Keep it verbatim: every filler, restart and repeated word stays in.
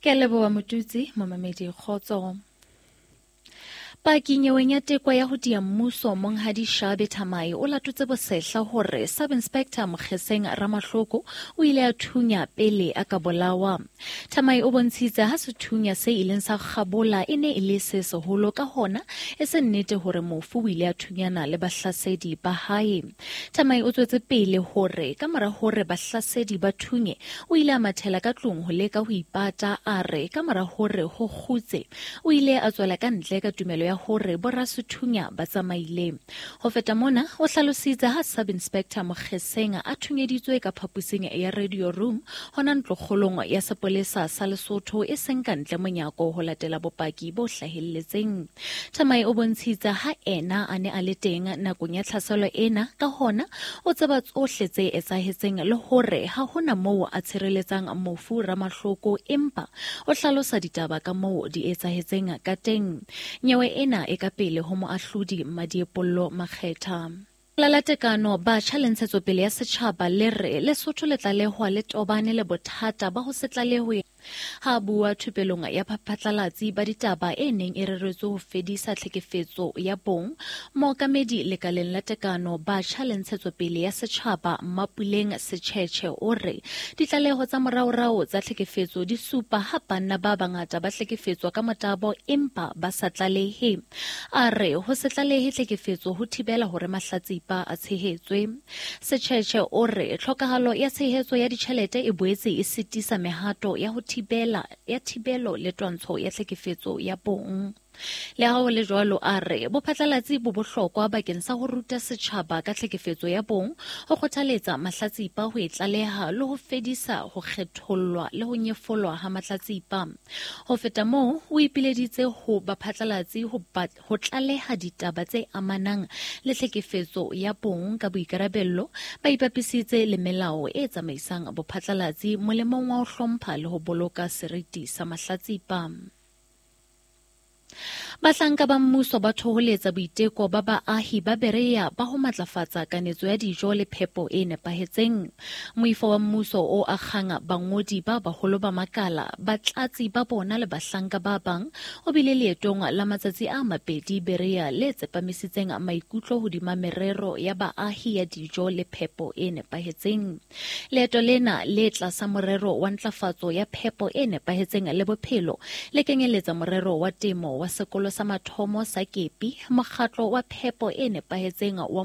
Ke a leboha Motutsi, momamedi kgotso. Paki nyeweng ya teko ya ho diya mmuso Monghadi Shabe Thamai o latotse bosehla hore Sub-Inspector Mokgeseng Ramahloko o ile a thunya pele a ka bolawa. Thamai o bontshitse ha sethunya se ileng sa kgabola e ne e le se seholo, ka hona e se nnete hore mofu o ile a thunyana le bahlasedi ba hae. Thamai o tswetse pele hore ka mora hore bahlasedi ba thunye o ile a mathela ka tlung ho leka ho ipata, a re ka mora hore ho kgutse o ile a tswela ka ntle ka tumelo ya hore borasethunya ba tsamaile. Ho feta mona, o hlalositse ha Sub-Inspector Mokgeseng a thunyeditswe ka phaposing ya radio room hona ntlokgolong ya sepolesa sa Lesotho e seng ka ntle monyako ho latela bopaki bo hlahelletseng. Thamai o bontshitse ha ena a ne a le teng nakong ya tlhaselo ena, ka hona o tseba tsohle tse etsahetseng le hore ha hona moo a tshireletsang mofu Ramahloko, empa o hlalosa ditaba ka moo di etsahetseng ka teng. Nyewe ena e ka pele ho moahlodi Madiepollo Makgetha. La la tekano batjha le ntshetsopele ya setjhaba le re Lesotho le tlalehwa le tobane le bothata ba ho se tlalehwe. Ha bua thupelong ya baphatlalatsi ba ditaba e neng e reretswe ho fedisa tlhekefetso ya bong, mookamedi lekaleng la tekano batjha le ntshetsopele ya setjhaba Mapuleng Setjhetjhe o re ditlaleho tsa moraorao tsa tlhekefetso di supa ha banna ba bangata ba hlekefetswa ka motabo empa ba sa tlalehe. A re ho se tlalehe tlhekefetso ho thibela hore mahlatsipa a tshehetswe. Setjhetjhe o re tlhokahalo ya tshehetso ya ditjhelete e boetse e sitisa mehato ya ho thibela ya thibelo le twantsho ya tlhekefetso ya bong. Le ha ho le jwalo, a re bophatlalatsi bo bohlokwa bakeng sa ho ruta setjhaba ka tlhekefetso ya bong, ho kgothaletsa mahlatsipa ho e tlaleha le ho fedisa ho kgethollwa le ho nyefolwa ha mahlatsipa. Ho feta moo, o ipileditse ho baphatlalatsi ho ho tlaleha ditaba tse amanang le tlhekefetso ya bong ka boikarabello, ba ipapisitse le melao e tsamaisang bophatlalatsi molemong wa ho hlompha le ho boloka seriti sa mahlatsipa. Bahlanka ba mmuso ba thoholetsa boiteko ba baahi ba Berea ba ho matlafatsa kanetso ya dijo le phepo e nepahetseng. Moifo wa mmuso o akgang bangodi ba baholo ba makala, batlatsi ba bona le bahlanka ba bang o bile leetong la matsatsi a mabedi Berea le tsepamisitseng maikutlo hodima merero ya baahi ya dijo le phepo e nepahetseng. Leeto lena le tlasa morero wa ntlafatso ya phepo e nepahetseng le bophelo le kenyeletsa morero wa temo wa sekolo sa mathomo sa Kepi, mokgatlo wa phepo e nepahetseng wa